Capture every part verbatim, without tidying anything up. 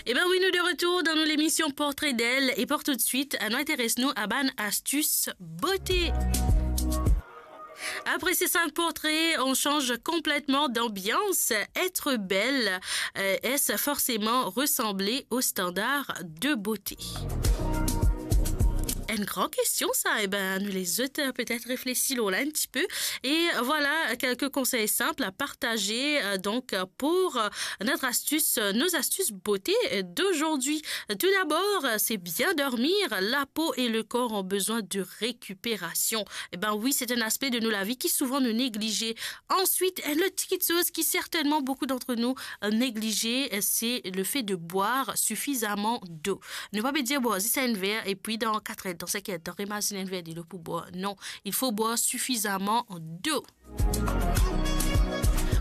Ebin wi, nou de retour dan nou lemision Portrait d'elle e pou toutswit, nou interes nou a bann astis bote. Après ces cinq portraits, on change complètement d'ambiance. Être belle, euh, est-ce forcément ressembler aux standards de beauté ? Enn gran kestion sa, ebin, nou les zot, euh, petet reflesi lor la enn tipe. Et voilà quelques conseils simples à partager, euh, donc, euh, pour, euh, notre astuce, euh, nos astuces beauté, euh, d'aujourd'hui. Tout d'abord, euh, c'est bien dormir. La peau et le corps ont besoin de récupération. Ebin wi, se enn aspe de nou lavi ki souvan nou neglize. Ensuite, enn lot ti kiksoz ki sertennman boukou d'antre nou, euh, neglize, euh, se le fait de boire suffisamment d'eau. Nou pa pe dir bwar zis enn ver, epi dan kat er, dan sink er, dan remazinn enn ver dilo pou bwar. Non, il faut boire suffisamment d'eau.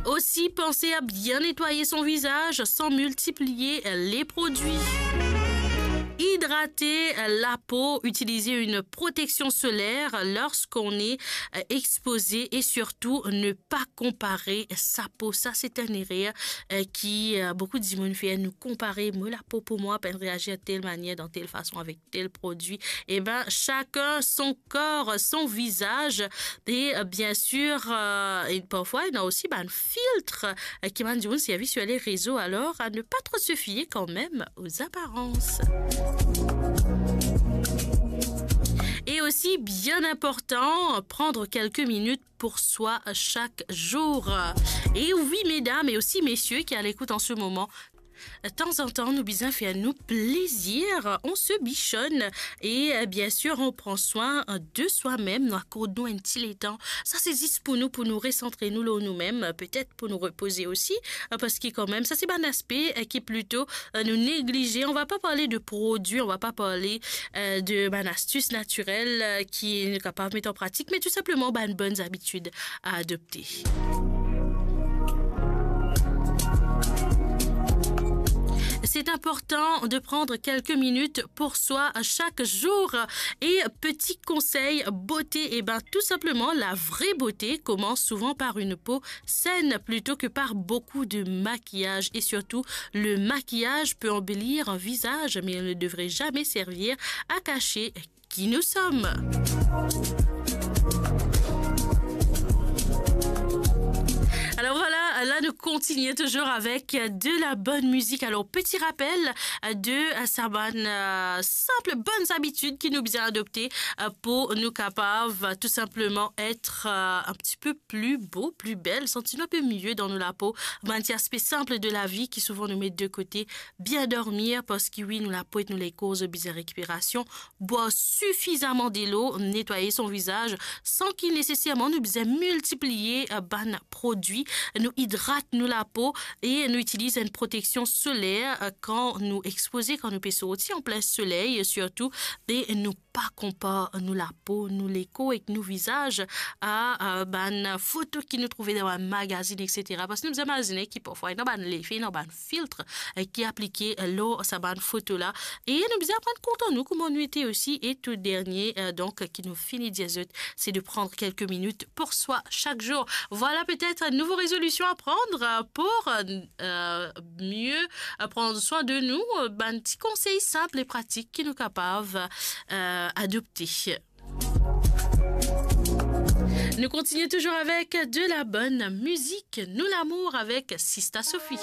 Aussi, pensez à bien nettoyer son visage sans multiplier les produits. Hydrater la peau, utiliser une protection solaire lorsqu'on est, euh, exposé et surtout ne pas comparer sa peau. Sa, se enn erer, euh, ki, euh, boukou dimoun fer, nou konpare, mo lapo pou mwa pa'nn reazir tel manier, dan tel fason, avek tel prodwi. Ebin, chacun son corps, son visage. Et, euh, bien sûr, euh, et parfois, il y a aussi, ben, un filtre, euh, ki bann dimoun servi sur les réseaux. Alors, à ne pas trop se fier quand même aux apparences. Et aussi, bien important, prendre quelques minutes pour soi chaque jour. Et oui, mesdames et aussi messieurs qui à l'écoute en ce moment, tanzantan, nou bizin fer nou plezir, on se bichonne et, euh, bien sûr, on prend soin de soi-même, nou akord nou enn ti letan. Sa, se zis pou nou, pou nou resantre nou lor noumem, petet pou nou repoze osi, euh, parski kanmem, sa, se bann aspe, euh, ki plito, euh, nou neglize. On va pas parler de produits, on va pas parler, euh, de bann astis natirel, euh, ki nou kapav met an pratik, me tou sinpleman bann bonn zabitid a adopte. C'est important de prendre quelques minutes pour soi chaque jour. Et petit conseil beauté, eh ben, tout simplement, la vraie beauté commence souvent par une peau saine plutôt que par beaucoup de maquillage. Et surtout, le maquillage peut embellir un visage, mais il ne devrait jamais servir à cacher qui nous sommes. Alors voilà, là nous continuons toujours avec de la bonne musique. Alors, petit rappel de sa bann, euh, sinp bonn zabitid ki nou bizin adopte, euh, pou nou kapav, euh, tou sinpleman et, euh, un petit peu plus beau, plus belle, santi nou inpe mie dan nou lapo. Bann ti aspe sinp de lavi ki souvan nou met de kote. Bien dormir, parski wi, nou lapo ek nou lekor bizin rekiperasion. Bwar sifizaman delo, netwaye son vizaz, san ki neseserman nou bizin miltipliye, euh, bann prodwi. Nou idrat nou lapo e nou itiliz enn proteksion soler, euh, kan nou expoze, kan nou pe sorti an plin soley, sirtou, e nou pa konpar nou lapo, nou lekor ek nou vizaz a, a bann foto ki nou trouve dan bann magazin, et cetera. Parski nou bizin imazine ki parfwa ena bann lefe, ena bann filtre, eh, ki aplike, eh, lor sa bann foto la. E nou bizin aprann kontan nou kouma nou ete osi. E tou dernie, eh, donk, ki nou fini dir zot, c'est de prendre quelques minutes pour soi chaque jour. Voilà peut-être une nouvelle résolution à prendre, euh, pour, euh, euh, mieux, euh, prendre soin de nous. Euh, bann ti konsey sinp e pratik ki nou kapav, euh, adopte. Nous continuons toujours avec de la bonne musique. Nous l'amour avec Sista Sophie.